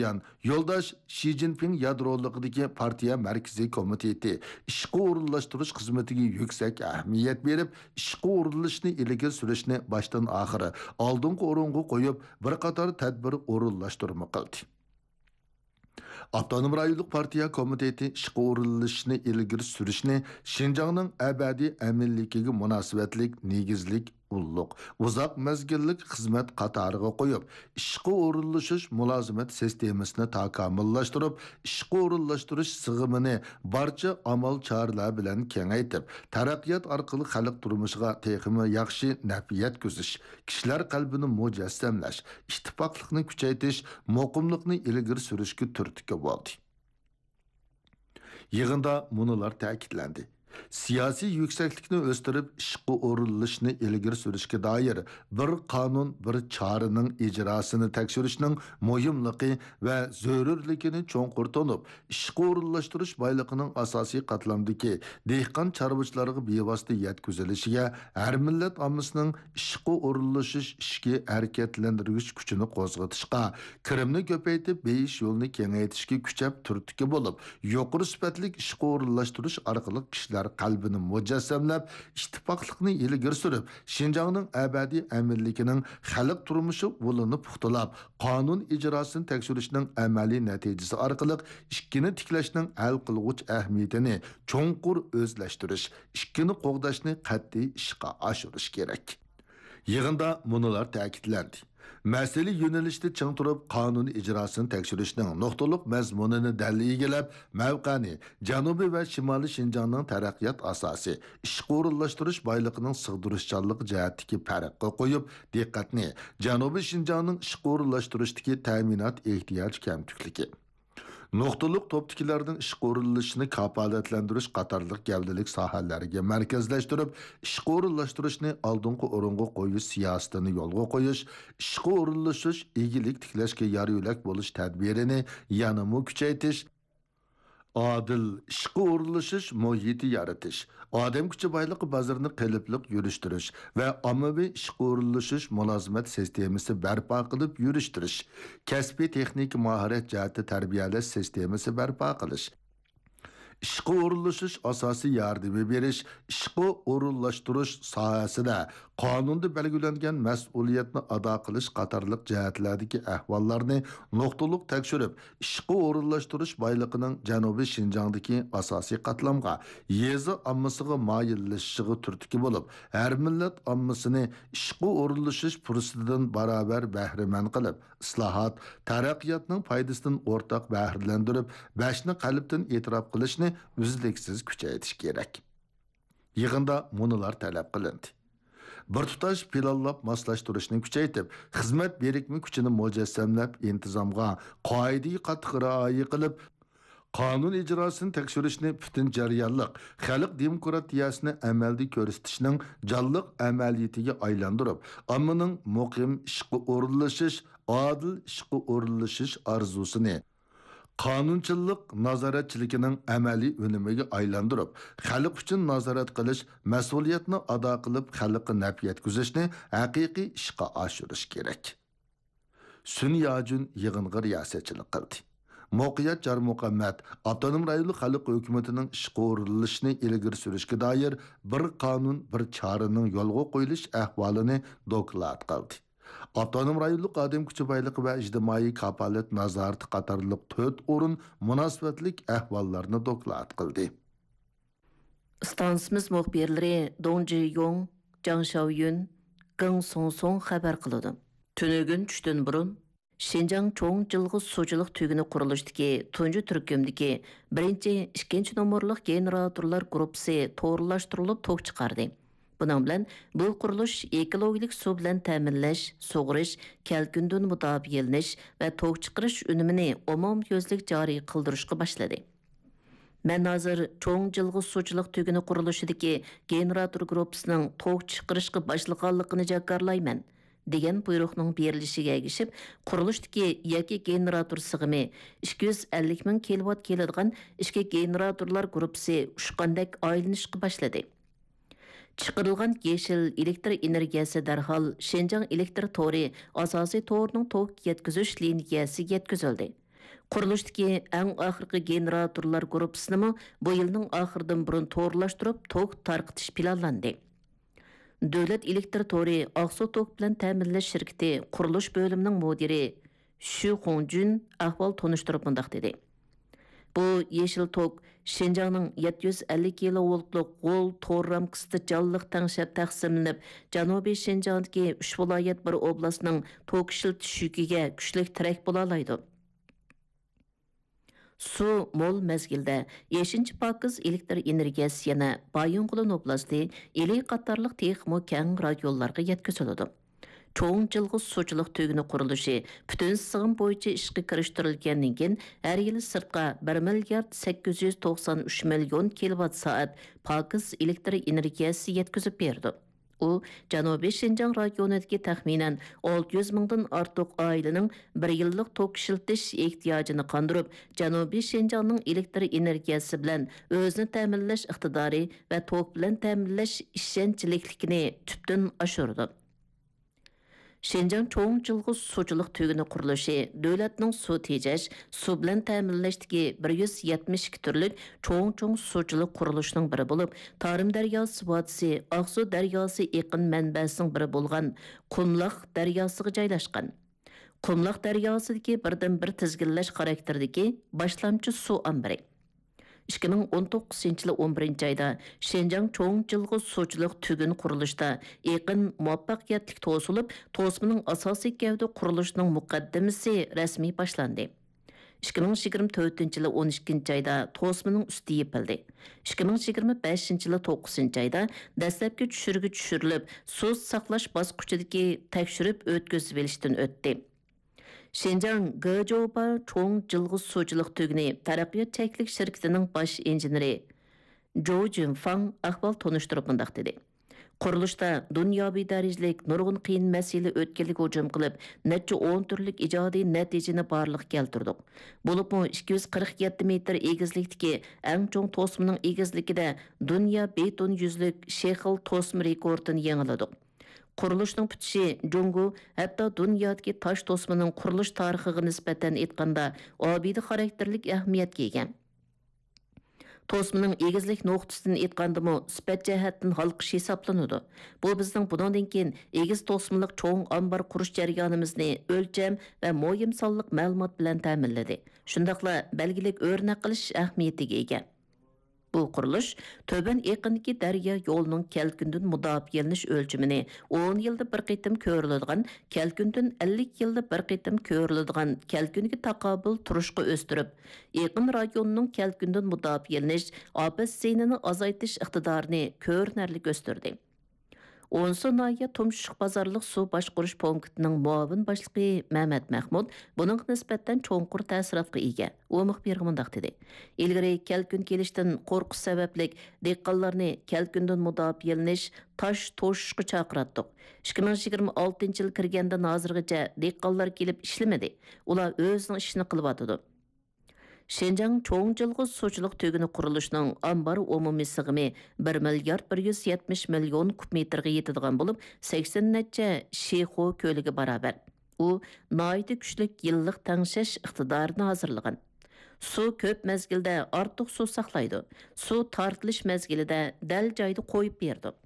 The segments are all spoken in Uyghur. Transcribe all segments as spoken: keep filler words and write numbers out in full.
يان يولداش شى جىنپىڭ يادرولۇقىدىكى پارتىيە مەركىزىي كومىتېتى ئىشقا ئورۇنلاشتۇرۇش خىزمىتىگە يۈكسەك ئەھمىيەت بېرىپ، ئىشقا ئورۇنلىشىشنى ئىلگىرى سۈرۈشنى باشتىن ئاخىر ئالدىنقى ئورۇنغا قويۇپ، بىر قاتار تەدبىر ئورۇنلاشتۇرما قىلدى. ئاپتونوم رايونلۇق پارتىيە كومىتېتى ئىشقا ئورۇنلىشىشنى ئىلگىرى سۈرۈشنى شىنجاڭنىڭ ئەبەدىي ئەمىنلىكىگە مۇناسىۋەتلىك نېگىزلىك ئۇللۇق، ئۇزاق مەزگىللىك خىزمەت قاتارىغا قويۇپ، ئىشقا ئورۇنلىشىش مۇلازىمەت سىستېمىسىنى تاكامۇللاشتۇرۇپ، ئىشقا ئورۇنلاشتۇرۇش سىغىمىنى بارچە ئامال-چارىلەر بىلەن كېڭەيتىپ، تەرەققىيات ئارقىلىق خەلق تۇرمۇشىغا تېخىمۇ ياخشى نەپ يەتكۈزۈش، كىشىلەر قەلبىنى مۇجەسسەملەش، ئىتتىپاقلىقنى كۈچەيتىش، مۇقىملىقنى ئىلگىرى سۈرۈشكە تۈرتكە بولدى. يىغىندا مۇنۇلار تەكىتلەندى: سىياسىي يۈكسەكلىكنى ئۆستۈرۈپ، ئىشقا ئورۇنلىشىشنى ئىلگىرى سۈرۈشكە دائىر بىر قانۇن، بىر چارىنىڭ ئىجراسىنى تەكشۈرۈشنىڭ مۇھىملىقى ۋە زۆرۈرلۈكىنى چوڭقۇر تونۇپ، ئىشقا ئورۇنلاشتۇرۇش بايلىقىنىڭ ئاساسىي قاتلامدىكى دېھقان چارۋىچىلارغا بىۋاسىتە يەتكۈزۈلۈشىگە، ھەر مىللەت ئاممىسىنىڭ ئىشقا ئورۇنلىشىش ئىچكى ھەرىكەتلەندۈرگۈچ كۈچىنى قوزغىتىشقا، كىرىمنى كۆپەيتىپ بېيىش يولىنى كېڭەيتىشكە كۈچەپ تۈرتكە بولۇپ، يۇقىرى سۈپەتلىك ئىشقا ئورۇنلاشتۇرۇش ئارقىلىق كىشىلەر قەلبىنى مۇجەسسەملەپ، ئىتتىپاقلىقنى ئىلگىرى سۈرۈپ، شىنجاڭنىڭ ئەبەدىي ئەمىنلىكىنىڭ خەلق تۇرمۇشى ئۇلىنى پۇختىلاپ، قانۇن ئىجراسىنى تەكشۈرۈشنىڭ ئەمەلىي نەتىجىسى ئارقىلىق ئىككىنى تىكلەشنىڭ ھەل قىلغۇچ ئەھمىيىتىنى چوڭقۇر ئۆزلەشتۈرۈش، ئىككىنى قوغداشنى قەتئىي ئىشقا ئاشۇرۇش كېرەك. يىغىندا مۇنۇلار تەكىتلەندى: مەسىلە يۆنىلىشىدە چىڭ تۇرۇپ، قانۇن ئىجراسىنى تەكشۈرۈشنىڭ نۇقتىلىق مەزمۇنىنى دەل ئىگىلەپ، مەۋقەنى جەنۇبىي ۋە شىمالىي شىنجاڭنىڭ تەرەققىيات ئاساسى، ئىشقا ئورۇنلاشتۇرۇش بايلىقىنىڭ سىغدۇرۇشچانلىقى جەھەتتىكى پەرققە قويۇپ، دىققەتنى جەنۇبىي شىنجاڭنىڭ ئىشقا ئورۇنلاشتۇرۇشتىكى تەمىنات ئېھتىياج كەمتۈكلۈكى، نۇقتىلىق توپتىكىلەرنىڭ ئىشقا ئورۇنلىشىشىنى كاپالەتلەندۈرۈش قاتارلىق گەۋدىلىك ساھەلەرگە مەركەزلەشتۈرۈپ، ئىشقا ئورۇنلاشتۇرۇشنى ئالدىنقى ئورۇنغا قويۇش سىياسىتىنى يولغا قويۇش، ئىشقا ئورۇنلىشىش، ئىگىلىك تىكلەشكە يار-يۆلەك بولۇش تەدبىرىنى يەنىمۇ كۈچەيتىش، ئادىل ئىشقا ئورۇنلىشىش مۇھىتى يارىتىش، ئادەم كۈچى بايلىقى بازىرىنى قېلىپلىق يۈرۈشتۈرۈش ۋە ئاممىۋى ئىشقا ئورۇنلىشىش مۇلازىمەت سىستېمىسى بەرپا قىلىپ يۈرۈشتۈرۈش، كەسپىي تېخنىكا ماھارەت جەھەتتە تەربىيەلەش سىستېمىسى بەرپا قىلىش، ئىشقا ئورۇنلىشىش ئاساسىي ياردىمى بېرىش، ئىشقا ئورۇنلاشتۇرۇش ساھەسىدە قانۇندا بەلگىلەنگەن مەسئۇلىيەتنى ئادا قىلىش قاتارلىق جەھەتلەردىكى ئەھۋاللارنى نۇقتىلىق تەكشۈرۈپ، ئىشقا ئورۇنلاشتۇرۇش بايلىقىنىڭ جەنۇبىي شىنجاڭدىكى ئاساسىي قاتلامغا، يېزا ئاممىسىغا مايىللىشىشىغا تۈرتكە بولۇپ، ھەر مىللەت ئاممىسىنى ئىشقا ئورۇنلىشىش پۇرسىتىدىن باراۋەر بەھرىمەن قىلىپ، ئىسلاھات، تەرەققىياتنىڭ پايدىسىدىن ئورتاق بەھرىلەندۈرۈپ، بەشنى قەلبتىن ئېتىراپ قىلىشنى ئۈزلۈكسىز كۈچەيتىش كېرەك. يىغىندا مۇنۇلار تەلەپ قىلىندى: بىر تۇتاش پىلانلاپ ماسلاشتۇرۇشنى كۈچەيتىپ، خىزمەت بىرىكمە كۈچىنى مۇجەسسەملەپ، ئىنتىزامغا، قائىدىگە قاتتىق رىئايە قىلىپ، قانۇن ئىجراسىنى تەكشۈرۈشنى پۈتۈن جەريانلىق خەلق دېموكراتىيەسىنى ئەمەلدە كۆرسىتىشنىڭ جانلىق ئەمەلىيىتىگە ئايلاندۇرۇپ، ئاممىنىڭ مۇقىم ئىشقا ئورۇنلىشىش، ئادىل ئىشقا ئورۇنلىشىش ئارزۇسىنى، قانۇنچىللىق نازارەتچىلىكىنىڭ ئەمەلىي ئۈنۈمىگە ئايلاندۇرۇپ، خەلق ئۈچۈن نازارەت قىلىش، مەسئۇلىيەتنى ئادا قىلىپ، خەلققە نەپ يەتكۈزۈشنى ھەقىقىي ئىشقا ئاشۇرۇش كېرەك. سۈن ياجۈن يىغىنغا رىياسەتچىلىك قىلدى. مۇقىيەت جارمۇھەممەت ئاپتونوم رايونلۇق خەلق ھۆكۈمىتىنىڭ ئىشقا ئورۇنلىشىشنى ئىلگىرى سۈرۈشكە دائىر بىر قانۇن، بىر چارىنىڭ يولغا قويۇلۇش ئەھۋالىنى دوكلات قىلدى. ئاپتونوم رايونلۇق ئادەم كۈچى بايلىقى ۋە ئىجتىمائىي كاپالەت نازارىتى قاتارلىق تۆت ئورۇن مۇناسىۋەتلىك ئەھۋاللارنى دوكلات قىلدى. ئىستانسىمىز مۇخبىرلىرى دۇڭ جىيۇڭ، جاڭ شياۋيۈن، گېڭ سۇڭسۇڭ خەۋەر قىلىدۇ. تۈنۈگۈن چۈشتىن بۇرۇن، شىنجاڭ چوڭ جىلغا سۇچىلىق تۈگۈنى قۇرۇلۇشىدىكى تۇنجى تۈركۈمدىكى بىرىنچى، ئىككىنچى نومۇرلۇق گېنېراتورلار گۇرۇپپىسى تورلاشتۇرۇلۇپ توك چىقاردى. بۇنىڭ بىلەن بۇ قۇرۇلۇش ئېكولوگىيەلىك سۇ بىلەن تەمىنلەش، سۇغىرىش، كەلكۈندىن مۇداپىئەلىنىش ۋە توك چىقىرىش ئۈنۈمىنى ئومۇميۈزلۈك جارى قىلدۇرۇشقا باشلىدى. مەن ھازىر چوڭ جىلغا سۇچىلىق تۈگۈنى قۇرۇلۇشىدىكى گېنېراتور گۇرۇپپىسىنىڭ توك چىقىرىشقا باشلىغانلىقىنى جاكارلايمەن، دېگەن بۇيرۇقنىڭ بېرىلىشىگە ئەگىشىپ، قۇرۇلۇشتىكى يەككە گېنېراتور سىغىمى ئىككى يۈز ئەللىك مىڭ كىلوۋات كېلىدىغان ئىككى گېنېراتورلار گۇرۇپپىسى ئۇچقاندەك ئايلىنىشقا باشلىدى. چىقىرىلغان يېشىل ئېلېكتر ئېنېرگىيەسى دەرھال شىنجاڭ ئېلېكتر تورى ئاساسىي تورىنىڭ توك يەتكۈزۈش لىنىيەسىگە يەتكۈزۈلدى. قۇرۇلۇشتىكى ئەڭ ئاخىرقى گېنېراتورلار گۇرۇپپىسىنىمۇ بۇ يىلنىڭ ئاخىرىدىن بۇرۇن تورلاشتۇرۇپ، توك تارقىتىش پىلانلاندى. دۆلەت ئېلېكتىر تورى ئاقسۇ توك بىلەن تەمىنلەش شىركىتى قۇرۇلۇش بۆلۈمىنىڭ مۇدىرى شۈ خۇڭجۈن ئەھۋال تونۇشتۇرۇپ مۇنداق دېدى: بۇ يېشىل توك شىنجاڭنىڭ يەتتە يۈز ئەللىك كىلوۋولتلۇق غول تور رامكىسىدا جانلىق تەڭشەپ تەقسىملىنىپ، جەنۇبىي شىنجاڭدىكى ئۈچ ۋىلايەت، بىر ئوبلاستنىڭ توك ئىشلىتىش يۈكىگە كۈچلۈك تىرەك بولالايدۇ. سۇ مول مەزگىلدە يەتتىنچى پاكىز ئېلېكتر ئېنېرگىيەسى يەنە بايىنغولىن ئوبلاستى، ئىلى قاتارلىق تېخىمۇ كەڭ رايونلارغا يەتكۈزۈلىدۇ. چوڭ جىلغا سۇچىلىق تۈگۈنى قۇرۇلۇشى پۈتۈن سىغىم بويىچە ئىشقا كىرىشتۈرۈلگەندىن كېيىن، ھەر يىلى سىرتقا بىر مىليارد سەككىز يۈز توقسان ئۈچ مىليون كىلوۋات سائەت پاكىز ئېلېكتر ئېنېرگىيەسى يەتكۈزۈپ بېرىدۇ. ئۇ جەنۇبىي شىنجاڭ رايونىدىكى تەخمىنەن ئالتە يۈز مىڭدىن ئارتۇق ئائىلىنىڭ بىر يىللىق توك ئىشلىتىش ئېھتىياجىنى قاندۇرۇپ، جەنۇبىي شىنجاڭنىڭ ئېلېكتر ئېنېرگىيەسى بىلەن ئۆزىنى تەمىنلەش ئىقتىدارى ۋە توك بىلەن تەمىنلەش ئىشەنچلىكلىكىنى تۈپتىن ئاشۇرىدۇ. شىنجاڭ چوڭ جىلغا سۇچىلىق تۈگۈنى قۇرۇلۇشى دۆلەتنىڭ سۇ تېجەش، سۇ بىلەن تەمىنلەشتىكى بىر يۈز يەتمىش ئىككى تۈرلۈك چوڭ-چوڭ سۇچىلىق قۇرۇلۇشىنىڭ بىرى بولۇپ، تارىم دەرياسى ۋادىسى ئاقسۇ دەرياسى ئېقىن مەنبەسىنىڭ بىرى بولغان قۇملاق دەرياسىغا جايلاشقان. قۇملاق دەرياسىدىكى بىردىنبىر تىزگىنلەش خاراكتېرىدىكى باشلامچى سۇ ئامبىرى. ئىككى مىڭ ئون توققۇزىنچى يىلى ئون بىرىنچى ئايدا شىنجاڭ چوڭ جىلغا سۇچىلىق تۈگۈن قۇرۇلۇشىدا ئېقىن مۇۋەپپەقىيەتلىك توسۇلۇپ، توسمىنىڭ ئاساسىي گەۋدە قۇرۇلۇشىنىڭ مۇقەددىمىسى رەسمىي باشلاندى. ئىككى مىڭ يىگىرمە تۆتىنچى يىلى ئون ئىككىنچى ئايدا توسمىنىڭ ئۈستى يېپىلدى. ئىككى مىڭ يىگىرمە بەشىنچى يىلى توققۇزىنچى ئايدا دەسلەپكى چۈشۈرۈگە چۈشۈرۈلۈپ، سۇ ساقلاش باسقۇچىدىكى تەكشۈرۈپ ئۆتكۈزۈۋېلىشتىن ئۆتتى. شىنجاڭ گېجوبا چوڭ جىلغا سۇچىلىق تۈگۈنى تەرەققىيات چەكلىك شىركىتىنىڭ باش ئىنژېنېرى جو جۈنفاڭ ئەھۋال تونۇشتۇرۇپ مۇنداق دېدى: قۇرۇلۇشتا دۇنياۋى دەرىجىلىك نۇرغۇن قىيىن مەسىلە ئۆتكەلگە ھۇجۇم قىلىپ، نەچچە ئون تۈرلۈك ئىجادىي نەتىجىنى بارلىققا كەلتۈردۇق. بولۇپمۇ ئىككى يۈز قىرىق يەتتە مېتىر ئېگىزلىكتىكى ئەڭ چوڭ توسمىنىڭ ئېگىزلىكىدە دۇنيا بېتون يۈزلۈك شېخىل توسما رېكورتىنى يېڭىلىدۇق. قۇرۇلۇشنىڭ پۈتۈشى جۇڭگو، ھەتتا دۇنيادىكى تاش توسمىنىڭ قۇرۇلۇش تارىخىغا نىسبەتەن ئېيتقاندا، ئابىدە خاراكتېرلىك ئەھمىيەتكە ئىگە. توسمىنىڭ ئېگىزلىك نۇقتىسىدىن ئېيتقاندىمۇ، سۈپەت جەھەتتىن ھالقىش ھېسابلىنىدۇ. بۇ بىزنىڭ بۇنىڭدىن كېيىن ئېگىز توسمىلىق چوڭ ئامبار قۇرۇش جەريانىمىزنى ئۆلچەم ۋە مۇھىم سانلىق مەلۇمات بىلەن تەمىنلىدى. شۇنداقلا بەلگىلىك ئۆرنەك قىلىش ئەھمىيىتىگە ئىگە. بۇ قۇرۇلۇش تۆۋەن ئېقىندىكى دەريا يولىنىڭ كەلكۈندىن مۇداپىئەلىنىش ئۆلچىمىنى ئون يىلدا بىر قېتىم كۆرۈلىدىغان، كەلكۈندىن ئەللىك يىلدا بىر قېتىم كۆرۈلىدىغان كەلكۈنگە تاقابىل تۇرۇشقا ئۆستۈرۈپ، ئېقىن رايونىنىڭ كەلكۈندىن مۇداپىئەلىنىش، ئاپەت زىيىنىنى ئازايتىش ئىقتىدارىنى كۆرۈنەرلىك ئۆستۈردى. ئونسۇ ناھىيە تۇمشۇق بازارلىق سۇ باشقۇرۇش پونكىتىنىڭ مۇئاۋىن باشلىقى مەمەت مەخمۇت بۇنىڭغا نىسبەتەن چوڭقۇر تەسىراتقا ئىگە. ئۇ مۇخبىرغا مۇنداق دېدى: ئىلگىرى كەلكۈن كېلىشتىن قورقۇش سەۋەبلىك دېھقانلارنى كەلكۈندىن مۇداپىئەلىنىش، تاش توشۇشقا چاقىراتتۇق. ئىككى مىڭ يىگىرمە ئالتىنچى يىل كىرگەندىن ھازىرغىچە دېھقانلار كېلىپ ئىشلىمىدى. ئۇلار ئۆزىنىڭ ئىشىنى قىلىۋاتىدۇ. شىنجاڭ چوڭ جىلغا سۇچىلىق تۈگۈنى قۇرۇلۇشىنىڭ ئامبار ئومۇمىي سىغىمى بىر مىليارد بىر يۈز يەتمىش مىليون كۇب مېتىرغا يېتىدىغان بولۇپ، سەكسەن نەچچە شىخۇ كۆلىگە باراۋەر. ئۇ ناھايىتى كۈچلۈك يىللىق تەڭشەش ئىقتىدارىنى ھازىرلىغان. سۇ كۆپ مەزگىلدە ئارتۇق سۇ ساقلايدۇ. سۇ تارتىلىش مەزگىلىدە دەل جايىدا قويۇپ بېرىدۇ.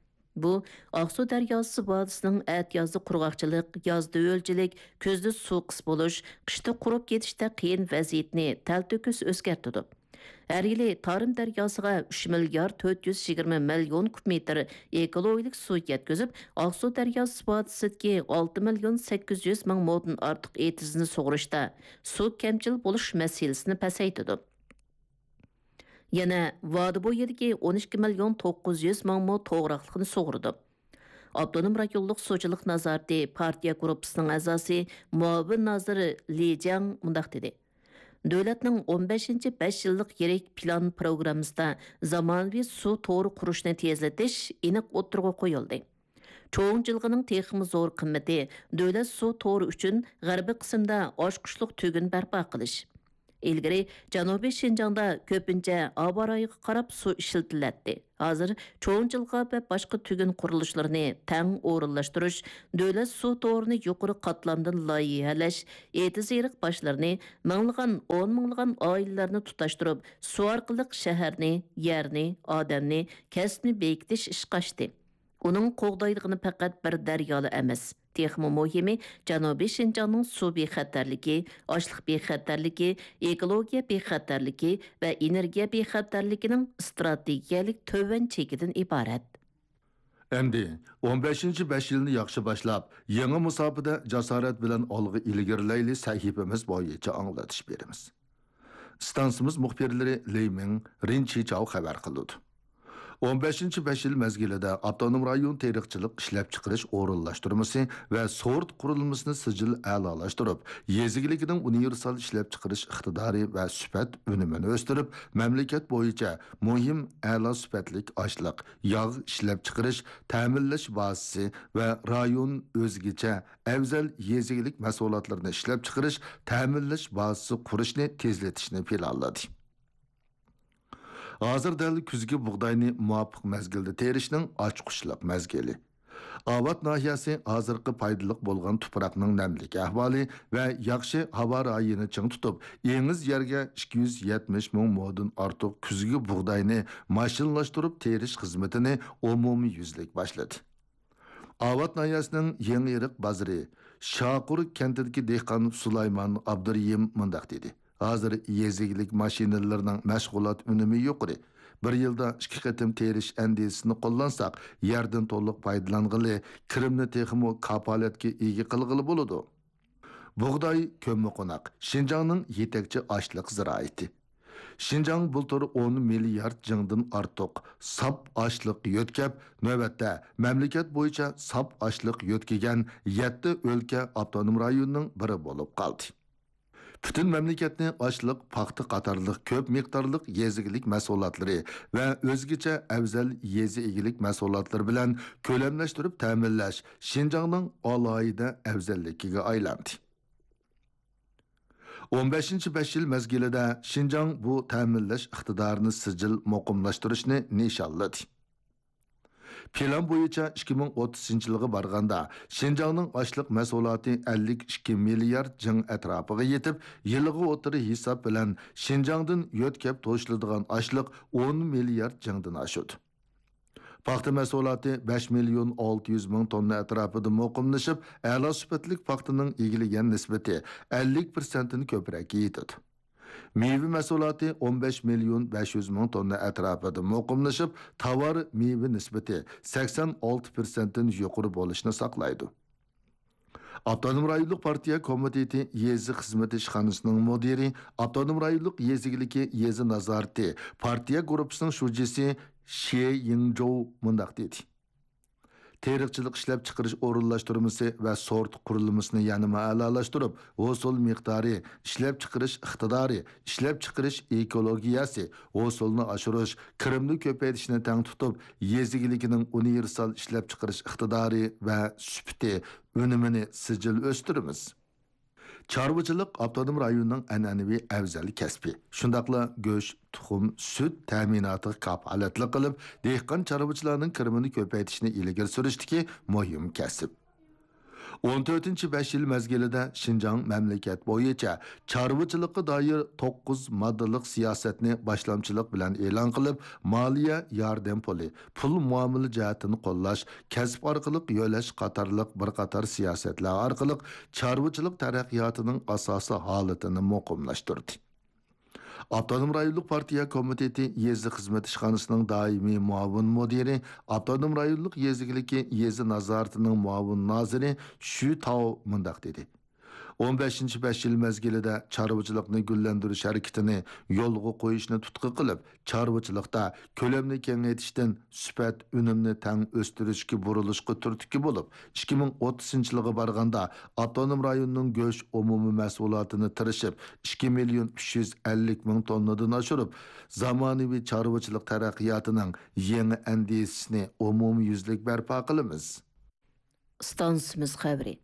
بۇ ئاقسۇ دەرياسى ۋادىسىنىڭ ئەتىيازدا قۇرغاقچىلىق، يازدا ھۆلچىلىك، كۈزدە سۇ قىس بولۇش، قىشتا قۇرۇپ كېتىشتەك قىيىن ۋەزىيىتىنى تەلتۆكۈس ئۆزگەرتىدۇ. ھەر يىلى تارىم دەرياسىغا ئۈچ مىليارد تۆت يۈز يىگىرمە مىليون كۇب مېتىر ئېكولوگىيەلىك سۇ يەتكۈزۈپ، ئاقسۇ دەرياسى ۋادىسىدىكى ئالتە مىليون سەككىز يۈز مىڭ مودىن ئارتۇق ئېتىزنى سۇغۇرۇشتا سۇ كەمچىل بولۇش مەسىلىسىنى پەسەيتىدۇ. يەنە ۋادى بويىدىكى ئون ئىككى مىليون توققۇز يۈز مىڭ مو توغراقلىقنى سۇغۇرىدۇ. ئاپتونوم رايونلۇق سۇچىلىق نازارىتى پارتىيە گۇرۇپپىسىنىڭ ئەزاسى، مۇئاۋىن نازىر لى جياڭ مۇنداق دېدى: دۆلەتنىڭ ئون بەشىنچى بەش يىللىق يىرىك پىلان پروگراممىسىدا زامانىۋى سۇ تورى قۇرۇشنى تېزلىتىش ئېنىق ئوتتۇرىغا قويۇلدى. چوڭ جىلغىنىڭ تېخىمۇ زور قىممىتى دۆلەت سۇ تورى ئۈچۈن غەربىي قىسىمدا ئاچقۇچلۇق تۈگۈن بەرپا قىلىش. ئىلگىرى جەنۇبىي شىنجاڭدا كۆپىنچە ھاۋا رايىغا قاراپ سۇ ئىشلىتىلەتتى. ھازىر چوڭ جىلغا ۋە باشقا تۈگۈن قۇرۇلۇشلىرىنى تەڭ ئورۇنلاشتۇرۇش، دۆلەت سۇ تورىنى يۇقىرى قاتلامدىن لايىھەلەش، ئېتىز-ئېرىق باشلىرىنى، مىڭلىغان، ئون مىڭلىغان ئائىلىلەرنى تۇتاشتۇرۇپ، سۇ ئارقىلىق شەھەرنى، يەرنى، ئادەمنى، كەسىپنى بېكىتىش ئىشقا ئاشتى. ئۇنىڭ قوغدايدىغىنى پەقەت بىر دەريالا ئەمەس. تېخىمۇ مۇھىمى، جەنۇبىي شىنجاڭنىڭ سۇ بىخەتەرلىكى، ئاشلىق بىخەتەرلىكى، ئېكولوگىيە بىخەتەرلىكى ۋە ئېنېرگىيە بىخەتەرلىكىنىڭ ئىستراتېگىيەلىك تۆۋەن چېكىدىن ئىبارەت. ئەمدى ئون بەشىنچى بەش يىلنى ياخشى باشلاپ، يېڭى مۇساپىدە جاسارەت بىلەن ئالغا ئىلگىرىلەيلى سەھىپىمىز بويىچە ئاڭلىتىش بېرىمىز. ئىستانسىمىز مۇخبىرلىرى لېي مىڭ، رىن چىچاۋ خەۋەر قىلىدۇ. ئون بەشىنچى بەش يىل مەزگىلىدە ئاپتونوم رايون تېرىقچىلىق ئىشلەپچىقىرىش ئورۇنلاشتۇرمىسى ۋە سورت قۇرۇلمىسىنى سىجىل ئەلالاشتۇرۇپ، يېزا ئىگىلىكىنىڭ ئۇنىۋېرسال ئىشلەپچىقىرىش ئىقتىدارى ۋە سۈپەت ئۈنۈمىنى ئۆستۈرۈپ، مەملىكەت بويىچە مۇھىم ئەلا سۈپەتلىك ئاشلىق، ياغ ئىشلەپچىقىرىش، تەمىنلەش بازىسى ۋە رايون ئۆزگىچە ئەۋزەل يېزا ئىگىلىك مەھسۇلاتلىرىنى ئىشلەپچىقىرىش، تەمىنلەش بازىسى قۇرۇشنى تېزلىتىشنى پىلانلىدى. ھازىر دەل كۈزگى بۇغداينى مۇۋاپىق مەزگىلدە تېرىشنىڭ ئاچقۇچلۇق مەزگىلى. ئاۋات ناھىيەسى ھازىرقى پايدىلىق بولغان تۇپراقنىڭ نەملىك ئەھۋالى ۋە ياخشى ھاۋا رايىنى چىڭ تۇتۇپ، ئېڭىز يەرگە ئىككى يۈز يەتمىش مىڭ مودىن ئارتۇق كۈزگى بۇغداينى ماشىنىلاشتۇرۇپ تېرىش خىزمىتىنى ئومۇميۈزلۈك باشلىدى. ئاۋات ناھىيەسىنىڭ يېڭىئېرىق بازىرى شاقۇر كەنتىدىكى دېھقان سۇلايمان ئابدۇرېھىم مۇنداق دېدى: ھازىر يېزا ئىگىلىك ماشىنىلىرىنىڭ مەشغۇلات ئۈنۈمى يۇقىرى. بىر يىلدا ئىككى قېتىم تېرىش ئەندىزىسىنى قوللانساق، يەردىن تولۇق پايدىلانغىلى، كىرىمنى تېخىمۇ كاپالەتكە ئىگە قىلغىلى بولىدۇ. بۇغداي كۆممىقوناق، شىنجاڭنىڭ يېتەكچى ئاشلىق زىرائىتى. شىنجاڭ بۇلتۇر ئون مىليارد جىڭدىن ئارتۇق ساپ ئاشلىق يۆتكەپ، نۆۋەتتە مەملىكەت بويىچە ساپ ئاشلىق يۆتكىگەن يەتتە ئۆلكە ئاپتونوم رايوننىڭ بىرى بولۇپ قالدى. پۈتۈن مەملىكەتنى ئاشلىق، پاختا قاتارلىق كۆپ مىقدارلىق يېزا ئىگىلىك مەھسۇلاتلىرى ۋە ئۆزگىچە ئەۋزەل يېزا ئىگىلىك مەھسۇلاتلىرى بىلەن كۆلەملەشتۈرۈپ تەمىنلەش شىنجاڭنىڭ ئالاھىدە ئەۋزەللىكىگە ئايلاندى. ئون بەشىنچى بەش يىل مەزگىلىدە شىنجاڭ بۇ تەمىنلەش ئىقتىدارىنى سىجىل مۇقىملاشتۇرۇشنى نىشانلىدى. پىلان بويىچە ئىككى مىڭ ئوتتۇزىنچى يىلغا بارغاندا، شىنجاڭنىڭ ئاشلىق مەھسۇلاتى ئەللىك ئىككى مىليارد جىڭ ئەتراپىغا يېتىپ، يىلىغا ئوتتۇرا ھېساب بىلەن شىنجاڭدىن يۆتكەپ توشۇلىدىغان ئاشلىق ئون مىليارد جىڭدىن ئاشىدۇ. پاختا مەھسۇلاتى بەش مىليون ئالتە يۈز مىڭ توننا ئەتراپىدا مۇقىملىشىپ، ئەلا سۈپەتلىك پاختىنىڭ ئىگىلىگەن نىسبىتى ئەللىك پىرسەنتتىن كۆپرەككە يېتىدۇ. مېۋە مەھسۇلاتى ئون بەش مىليون بەش يۈز مىڭ توننا ئەتراپىدا مۇقىملىشىپ، تاۋار مېۋە نىسبىتى سەكسەن ئالتە پىرسەنتتىن يۇقىرى بولۇشنى ساقلايدۇ. ئاپتونوم رايونلۇق پارتىيە كومىتېتى يېزا خىزمىتى ئىشخانىسىنىڭ مۇدىرى، ئاپتونوم رايونلۇق يېزا ئىگىلىكى يېزا نازارىتى پارتىيە گۇرۇپپىسىنىڭ شۇجىسى شې يىڭجوۋ مۇنداق دېدى: تېرىقچىلىق ئىشلەپچىقىرىش ئورۇنلاشتۇرمىسى ۋە سورت قۇرۇلمىسىنى يەنىمۇ ئەلالاشتۇرۇپ، ھوسۇل مىقدارى، ئىشلەپچىقىرىش ئىقتىدارى، ئىشلەپچىقىرىش ئېكولوگىيەسى، ھوسۇلنى ئاشۇرۇش، كىرىمنى كۆپەيتىشنى تەڭ تۇتۇپ، يېزا ئىگىلىكىنىڭ ئۇنىۋېرسال ئىشلەپچىقىرىش ئىقتىدارى ۋە سۈپىتى، ئۈنۈمىنى سىجىل ئۆستۈرىمىز. چارۋىچىلىق ئاپتونوم رايوننىڭ ئەنئەنىۋى ئەۋزەل كەسپى. شۇنداقلا گۆش، تۇخۇم، سۈت تەمىناتىغا كاپالەتلىك قىلىپ، دېھقان چارۋىچىلارنىڭ كىرىمىنى كۆپەيتىشنى ئىلگىرى سۈرۈشتىكى مۇھىم كەسىپ. ئون تۆتىنچى بەش يىل مەزگىلىدە شىنجاڭ مەملىكەت بويىچە چارۋىچىلىققا دائىر توققۇز ماددىلىق سىياسەتنى باشلامچىلىق بىلەن ئېلان قىلىپ، مالىيە ياردەم پۇلى، پۇل مۇئامىلە جەھەتتىن قوللاش، كەسىپ ئارقىلىق يۆلەش قاتارلىق بىر قاتار سىياسەتلەر ئارقىلىق چارۋىچىلىق تەرەققىياتىنىڭ ئاساسىي ھالىتىنى مۇقىملاشتۇردى. ئاپتونوم رايونلۇق پارتىيە كومىتېتى يېزا خىزمەت ئىشخانىسىنىڭ دائىمىي مۇئاۋىن مۇدىرى، ئاپتونوم رايونلۇق يېزا ئىگىلىكى يېزا نازارىتىنىڭ مۇئاۋىن نازىرى شۈ تاۋ مۇنداق دېدى: ئون بەشىنچى بەش يىل مەزگىلىدە چارۋىچىلىقنى گۈللەندۈرۈش ھەرىكىتىنى يولغا قويۇشنى تۇتقا قىلىپ، چارۋىچىلىقتا كۆلەمنى كېڭەيتىشتىن سۈپەت ئۈنۈمنى تەڭ ئۆستۈرۈشكە بۇرۇلۇشقا تۈرتكە بولۇپ، ئىككى مىڭ ئوتتۇزىنچى يىلغا بارغاندا، ئاپتونوم رايوننىڭ گۆش ئومۇمىي مەھسۇلاتىنى تىرىشىپ، ئىككى مىليون ئۈچ يۈز ئەللىك مىڭ توننىدىن ئاشۇرۇپ، زامانىۋى چارۋىچىلىق تەرەققىياتىنىڭ يېڭى ئەندىزىسىنى ئومۇميۈزلۈك بەرپا قىلىمىز. ئىستانسىمىز خەۋىرى.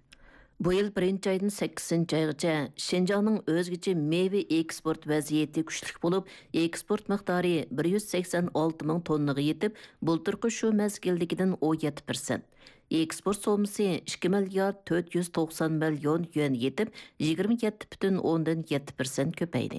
بۇ يىل بىرىنچى ئايدىن سەككىزىنچى ئايغىچە شىنجاڭنىڭ ئۆزگىچە مېۋە ئېكسپورت ۋەزىيىتى كۈچلۈك بولۇپ، ئېكسپورت مىقدارى بىر يۈز سەكسەن ئالتە مىڭ توننىغا يېتىپ، بۇلتۇرقى شۇ مەزگىلدىكىدىن ئون يەتتە پىرسەنت. ئېكسپورت سوممىسى ئىككى مىليارد تۆت يۈز توقسان مىليون يۈەن يېتىپ، يىگىرمە يەتتە پۈتۈن ئوندىن يەتتە پىرسەنت كۆپەيدى.